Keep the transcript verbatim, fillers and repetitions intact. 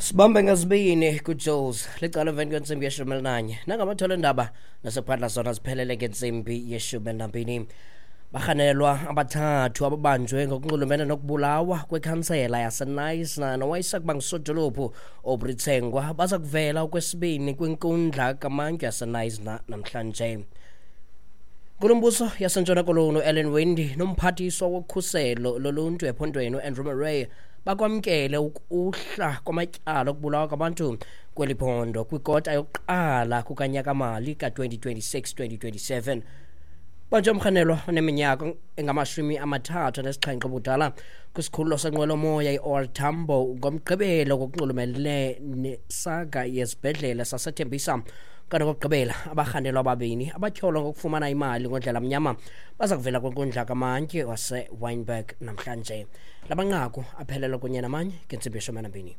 Sibambe ngazibini kuJules licala emveni kwentsimbi yeshumi elinanye nangamathole endaba nasephandla zona ziphelele ngentsimbi yeshumi elinambini. Barhanelwa abathathu ababanjwe ngokunxulumene nokubulawa kwekhansela yaseNysna nowayesakuba ngusodolophu Aubrey Tsengwa baza kuvela okwesibini kwinkundla kamantyi yaseNysna namhlanje. Nkulumbuso yaseNtshona Koloni uAllan Winde nomphathiswa wokhuselo loluntu ephondweni uAndrew Murray bakwamkele ukuhla kwamatyala okubulawa kwabantu kweli phondo kwikota yokuqala kukanyakamali ka-twenty twenty-six twenty twenty-seven. Banjwe umrhanelwa oneminyaka engamashumi amathathu anesixhenxe ubudala kwisikhululo senqwelomoya i-O R Tambo ngoMgqibelo ngokunxulumene nesaga yesibhedlele saseThembisa. Kanti okokugqibela abarhanelwa ababini abatyholwa ngokufumana imali ngondlela mnyama baza kuvela kwinkundla kamantyi waseWynberg namhlanje. La manqaku aphelelwa kunye namanye ngentsimbi yeshumi elinambini.